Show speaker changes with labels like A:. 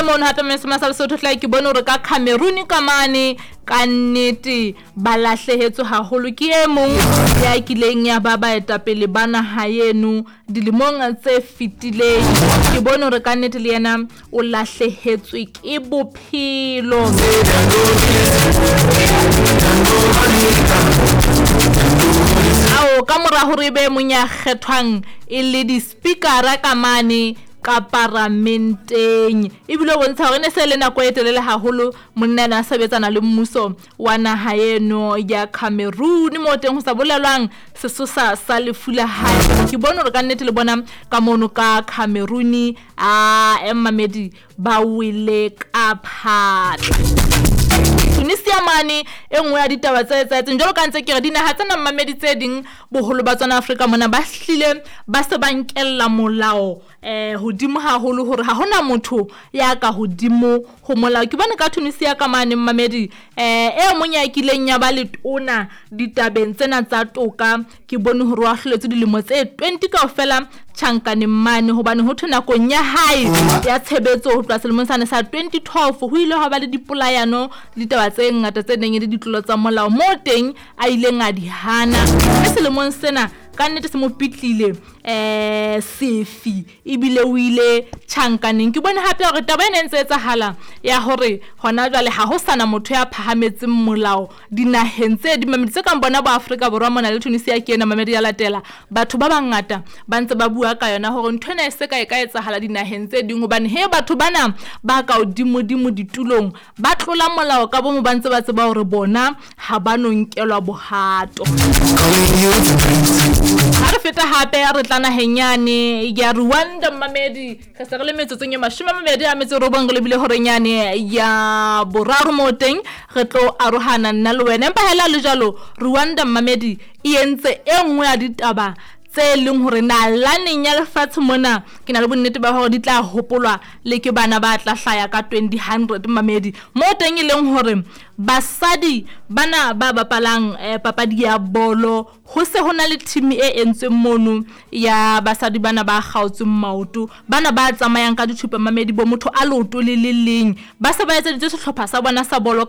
A: Ntle mono hape Mese sa Lesotho hlae ke bone hore ka Cameroon ka mane ka nnete ba lahlehetswe haholo ke e mong ya kileng ya ba baetapele ba naha eno dilemong tse fetileng. Ke bone hore ka nnete le yena o lahlehetswe ke bophelo. Ao ka mora hore e be mong ya kgethwang e le di-speakera ka mane ka paramenteng, ebile o bontsha hore e ne se le nako e telele haholo monna ena a sebetsana le mmuso wa naha eno ya Cameroon, moo teng ho sa bolelwang sesosa sa lefu la hae. Ke bone hore ka nnete le bona ka mono ka Cameroon a mmamedi ba wele ka phatla. Tunisia mane e nngwe ya ditaba tse etsahetseng jwalo ka ntse ke re dinaha tsena mmamedi tse ding boholo ba tsona Afrika mona ba hlile ba se ba nkella molao hodimo haholo hore ha hona motho ya ka hodimo ho molao. Ke bone ka Tunisia ka mane mmamedi e mong ya kileng ya ba letona ditabeng tsena tsa toka, ke bone hore wa hloletswe dilemo tse 20 kaofela tjhankaneng mane, hobane ho thwe nakong ya hae ya tshebetso ho tloha selemong sane sa 2012 ho ile hwa ba le dipolayano le ditaba tse ngata tse neng e le ditlolo tsa molao moo teng a ileng a di hana. Mme selemong sena ka nnete se mo pitlile sefi ebile o ile tjhankaneng. Ke bone hape hore taba ena e ntse etsahala ya hore hona jwale ha ho sana motho ya phahametseng molao dinaheng tse ding mamedi tse kang bona bo Afrika Borwa mona le Tunisia ke ena mamedi ya latela. Batho ba bangata ba ntse ba bua ka yona hore ntho ena e se ka e ka etsahala dinaheng tse ding, hobane he batho bana ba ka hodimodimo ditulong ba tlola molao ka bomo, ba ntse ba tseba hore bona ha ba no nkelwa bohato. Ha re feta hape re tla naheng yane ya Rwanda mmamedi, re se re le metsotsong e 29 re lebile horeng yane ya boraro moo teng re tlo arohana nna le wena. Empa hela le jwalo Rwanda mmamedi e entse e nngwe ya ditaba tse leng hore nalaneng ya lefatshe mona ke na le bonnete ba hore di tla hopolwa le ke bana ba tla hlaya ka 2000 mmamedi, moo teng e leng hore basadi bana ba bapalang papadi ya bolo ho se ho na le team e entsweng mono ya basadi bana ba kgaotsweng maoto, bana ba tsamayang ka dithupa mamedi bo motho a leoto le le leng, ba se ba etseditswe sehlopha sa bona sa bolo.